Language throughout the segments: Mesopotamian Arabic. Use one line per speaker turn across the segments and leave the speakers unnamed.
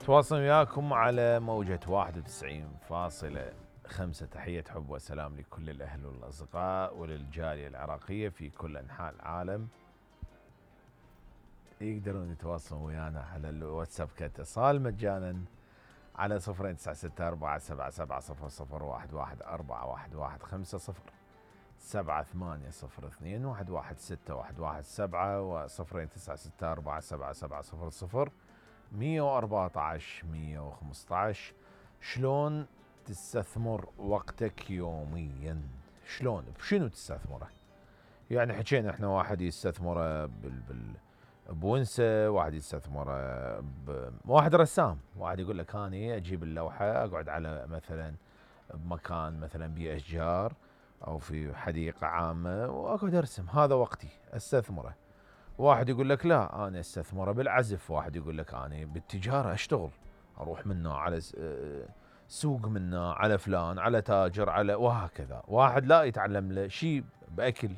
تواصل وياكم على موجة 91.5. تحية حب وسلام لكل الأهل والأصدقاء وللجالية العراقية في كل أنحاء العالم. يقدرون يتواصلون ويانا على الواتساب كاتصال مجانا على 09677700011415 7802116117 و 096777000114. شلون تستثمر وقتك يوميا؟ شلون بشنو تستثمره؟ يعني حكينا احنا واحد يستثمره بونسه، واحد يستثمره واحد رسام، واحد يقول لك اني اجيب اللوحه اقعد على مثلا بمكان مثلا بيه اشجار او في حديقه عامه واقعد ارسم، هذا وقتي استثمره. واحد يقول لك لا انا استثمره بالعزف، واحد يقول لك انا بالتجاره اشتغل، اروح منه على سوق، منه على فلان، على تاجر، على وهكذا. واحد لا يتعلم له شيء باكل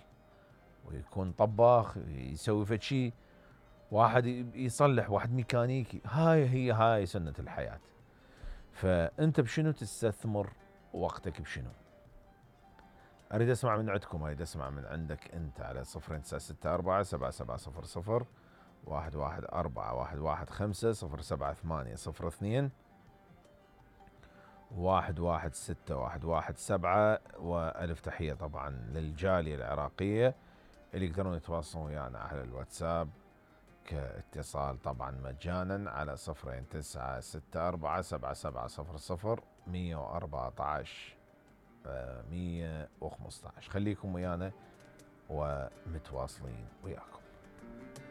ويكون طباخ يسوي فد شيء، واحد يصلح، واحد ميكانيكي. هاي سنة الحياة. فانت بشنو تستثمر وقتك؟ بشنو؟ اريد اسمع من عندكم، اريد اسمع من عندك انت على 09647700111411507802 116117. والف تحية طبعا للجالية العراقية اللي يقدرون يتواصلون ويانا على الواتساب كاتصال طبعا مجانا على 09677700011415. خليكم ويانا ومتواصلين وياكم.